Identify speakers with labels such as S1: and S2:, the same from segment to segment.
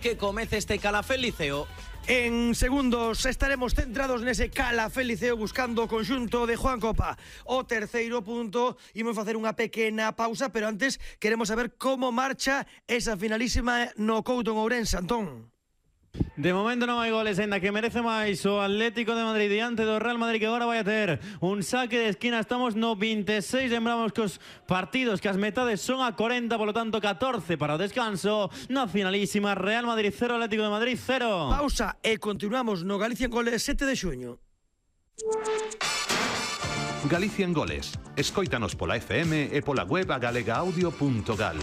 S1: Que comece este Calafel Liceo.
S2: En segundos estaremos centrados nese Calafel Liceo buscando o conxunto de Juan Copa. O terceiro punto, imos facer unha pequena pausa, pero antes queremos saber como marcha esa finalísima no Couto en Ourense, Antón.
S3: De momento non hai goles, ainda que merece máis o Atlético de Madrid diante do Real Madrid, que agora vai a ter un saque de esquina. Estamos no 26, lembramos que os partidos, que as metades son a 40, polo tanto 14 para o descanso. Na finalísima, Real Madrid 0, Atlético de Madrid 0.
S2: Pausa e continuamos no Galicia en Goles 7 de xuño.
S4: Galicia en Goles. Escóitanos pola FM e pola web agalegaaudio.gal.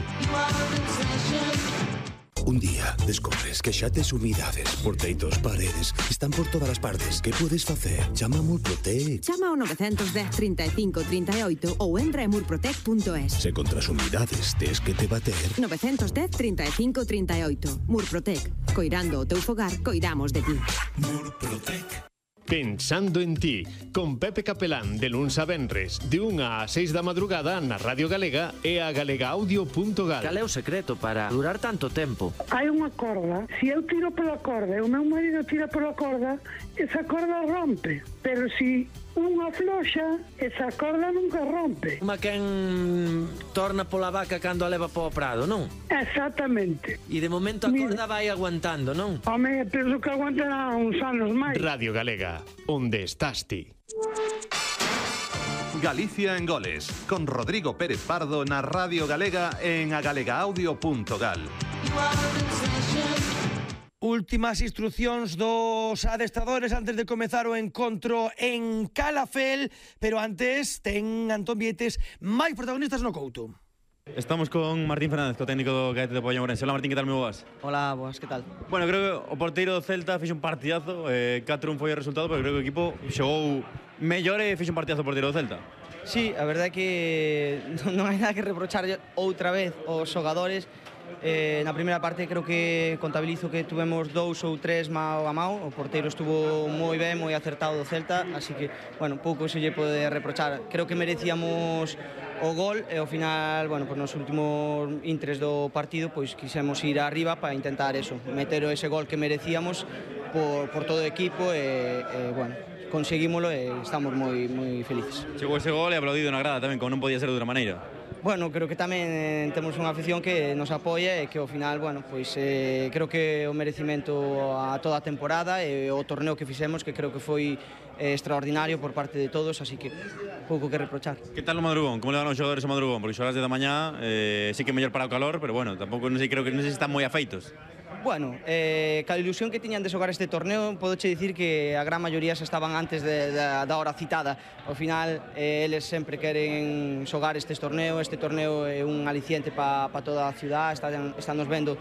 S5: Un día descobres que xa tes humidades, porteitos, paredes, están por todas as partes. Que podes facer? Chama a Murprotec.
S6: Chama ao 910 35 38 ou entra en murprotec.es.
S5: Se contra as humidades tes que te bater.
S6: 910 35 38. Murprotec. Coirando o teu fogar, coidamos de ti.
S5: Murprotec.
S7: Pensando en ti, con Pepe Capelán, de luns a venres, de 1 a 6 da madrugada na Radio Galega e a galegaaudio.gal.
S1: Cal é o secreto para durar tanto tempo?
S8: Hai unha corda, se eu tiro pola corda e o meu marido tira pola corda, esa corda rompe, pero se unha floxa, esa corda nunca rompe.
S1: Uma quen torna pola vaca cando a leva po prado, non?
S8: Exactamente.
S1: E de momento a corda vai aguantando, non?
S8: Home, penso que aguantará uns anos máis.
S7: Radio Galega, onde estás ti?
S4: Galicia en Goles, con Rodrigo Pérez Pardo na Radio Galega en agalegaaudio.gal.
S2: Últimas instruccións dos adestradores antes de comezar o encontro en Calafel, pero antes ten Antón Vietes máis protagonistas no Couto.
S3: Estamos con Martín Fernández, co técnico do Caete de Poio Ourense. Hola Martín, que tal, moi boas?
S9: Hola, boas, que tal?
S3: Bueno, creo que o porteiro do Celta fixe un partidazo, 4-1 foi o resultado, pero creo que o equipo xogou mellor e fixe un partidazo o porteiro do Celta.
S9: Sí, a verdade é que non hai nada que reprochar outra vez aos xogadores. Na primeira parte creo que contabilizo que tuvemos 2 ou 3 mao a mao. O porteiro estuvo moi ben, moi acertado do Celta, así que, bueno, pouco se lle pode reprochar. Creo que merecíamos o gol e ao final, bueno, pues nos últimos intres do partido pois quixemos ir arriba para intentar eso, meter ese gol que merecíamos por todo o equipo e bueno, conseguímolo e estamos moi felices.
S3: Chegou ese gol e aplaudido na grada tamén, como non podía ser de outra maneira.
S9: Bueno, creo que tamén temos unha afición que nos apoia e que ao final, bueno, pois creo que o merecimento a toda a temporada e o torneo que fixemos, que creo que foi extraordinario por parte de todos, así que pouco que reprochar.
S3: Que tal o madrugón? Como le van os xogadores o madrugón? Porque xogas de da mañá, sí que mellor para o calor, pero bueno, tampouco non sei, creo que non sei se están moi afeitos.
S9: Bueno, ca ilusión que tiñan de xogar este torneo, podoche dicir que a gran maioría xa estaban antes da hora citada. Ao final, eles sempre queren xogar este torneo é un aliciente para toda a ciudad, están nos vendo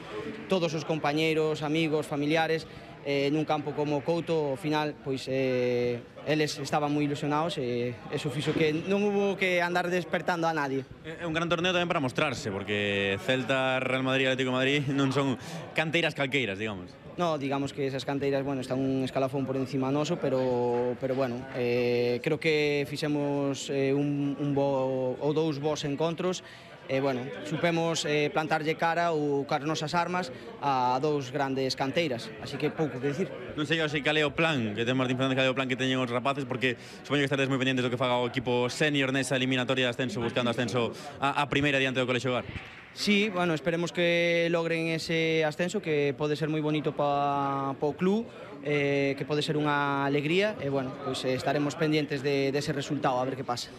S9: todos os compañeiros, amigos, familiares, nun campo como Couto. Ao final, pois, eles estaban moi ilusionados e eso fixo que non hubo que andar despertando a nadie.
S3: É un gran torneo tamén para mostrarse, porque Celta, Real Madrid e Atlético de Madrid non son canteiras calqueiras, digamos.
S9: No, digamos que esas canteiras, bueno, están un escalafón por encima noso, pero bueno, creo que fixemos un bo ou 2 bons encontros. Bueno, supemos plantarlle cara ou car nosas armas a 2 grandes canteiras, así que pouco que dicir.
S3: Non sei cal é o plan que ten Martín Fernández, cal é o plan que teñen os rapaces, porque supoño que estaredes moi pendientes do que faga o equipo senior nesa eliminatoria de ascenso, buscando ascenso a primeira diante do Colexio Hogar.
S9: Sí, bueno, esperemos que logren ese ascenso, que pode ser moi bonito para o club, que pode ser unha alegría, e bueno, pois estaremos pendientes dese resultado, a ver que pasa.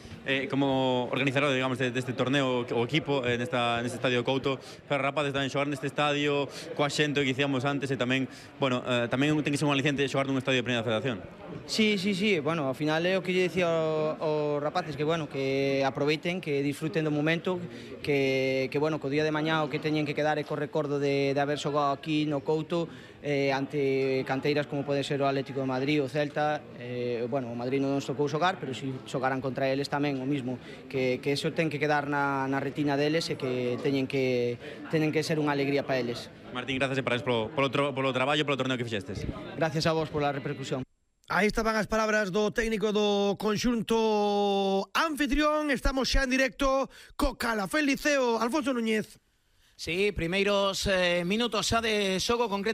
S3: Como organizador, digamos, deste torneo, o equipo neste estadio Couto, pero rapaces tamén xogar neste estadio coa xente que dicíamos antes, e tamén, bueno, tamén ten que ser un aliciente xogar nun estadio de primeira federación.
S9: Sí, bueno, ao final é o que lle dicía aos rapaces, que bueno, que aproveiten, que disfruten do momento, que bueno, que o día de mañá o que teñen que quedar é co recordo de haber xogado aquí no Couto ante canteiras como pode ser o Atlético de Madrid, o Celta. Bueno, o Madrid non nos tocou xogar, pero si xogaran contra eles tamén o mismo, que eso ten que quedar na retina deles e que teñen que ser unha alegría para eles.
S3: Martín, gracias e parabéns polo traballo, polo torneo que fixestes.
S9: Gracias a vos pola repercusión.
S2: Aí estaban as palabras do técnico do conxunto anfitrión. Estamos xa en directo co Calafel Liceo. Alfonso Núñez.
S1: Sí, primeiros minutos xa de xogo concreto.